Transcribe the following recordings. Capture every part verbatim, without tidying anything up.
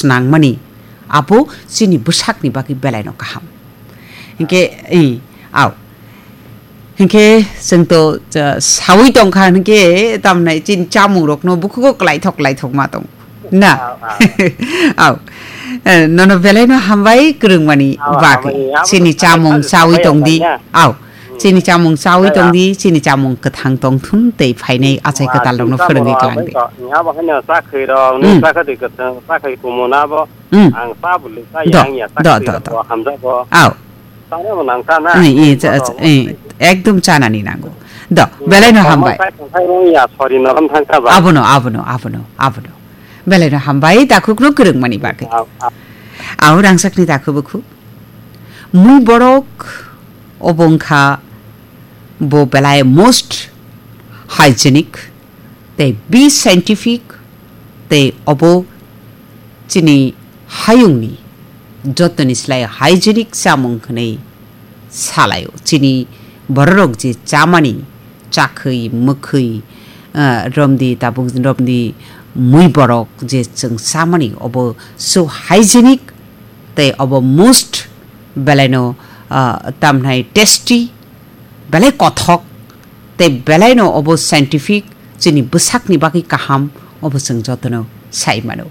nangmani, abo chini bwsakni bagwi belaino kaham. Hinkhe, i, au. Hinkhe chwng to, cha, sawi tongkha, hinkhe tamnai chini chamungrokno bukhugo klaithok klaithok ma tong. Na? Au, au. Au. Eh, nono belaino hambai kwrwngmani Au, bagwi. hambai, abo Chini to chamung hambai, sawi hambai tongdi. ya. Au. Chini chamung sawi Maya. tongdi, chini chamung kwthang tongthun tei phainai achai Wa, kwtal rokno chini phwrwngwi chamung kwlangdi. hambai to, ni abo haino chakhwi rok, ni Hmm. chakhwi kwthang, chakhwi kumun abo. Hmm. Ang ta bwlwi ta Do, yang ya do, chakhwi do, rok do. bo hamjak bo. Au. Chana bo nang ta na. Ni, i, cha, Bono cha, bo. i, ekdom chanani nango. Do, Hmm. belaino Tongmani hambai. sai tongthai rong ya sori norom thang ta ba. Abono, abono, abono, abono. Belaino hambai, takhukno kwrwngmani bagwi. Au, au. Au, rangchakni takhubukhuk. Mui borok obo wngkha bo belai most hygienic tei be scientific tei obo chini hayungni jotoni slai hygienic chamung hwnwi salaio. Chini bororok je chamani chakhwi, mwkhwi, ah, romdi, tabuk romdi, mui borok je chwng chamani, obo so hygienic tei obo most belaino, ah, tamhnai tasty, belai kothok tei belaino obo scientific, chini bwsakni bagwi kaham, obo chwng jotono sai mano.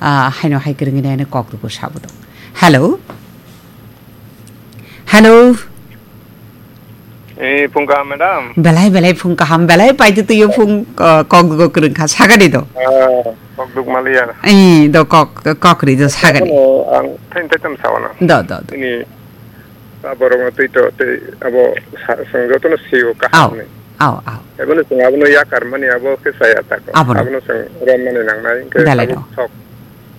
Ah, haino hai kwrwngwi nai kok rwgo sabo tong. Hello? Hello? Eh, phung kaham, madam. Belai, belai phung kaham, belai paitwi twiyo phung, uh, kok dugo kwrwng kha, sagani do. Ah, kok duk maliya. Eh, do kok, kok ri do sagani. Ano, ang thain thaitham sawana. Do, do, do. Ini, ta borok no twi to, tei abo sa-, song joto no siyo Au, kaham ni. au, au. Abo no song abo no yakar mani abo khe saya ta ko. Abo no. Abo no song rom mani nang nai, khe Belai abo do. thok,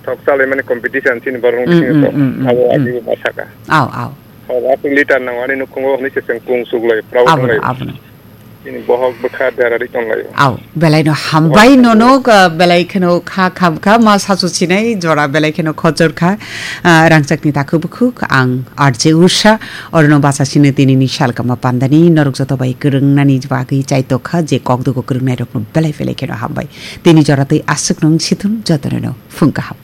thok chalai mani competition chini borok no Mm, bisingo mm, to. mm, mm, Abo mm. agi ma saka. Au, au. Hor aswk leader nang ani nukhungo hwnwi se chwng kung suglai, proud Abono, wnglaio. abono. Chini bohok bwkha derari tonglaio. Au, belaino hambai Bohok nono, uh, belai kheno kha kham kha, ma sasu sinai jora belai kheno khojor kha, uh, rangchakni takhu bukhuk, ang R J Usha, orono bacha sino tinini salkama pandani, norok joto bai kwrwngnani bagwi chaitok kha, je kokdugo kwrwngnai rokno belai belai kheno hambai. Tini jora tei aswk nung sithun jotono no phung kaham.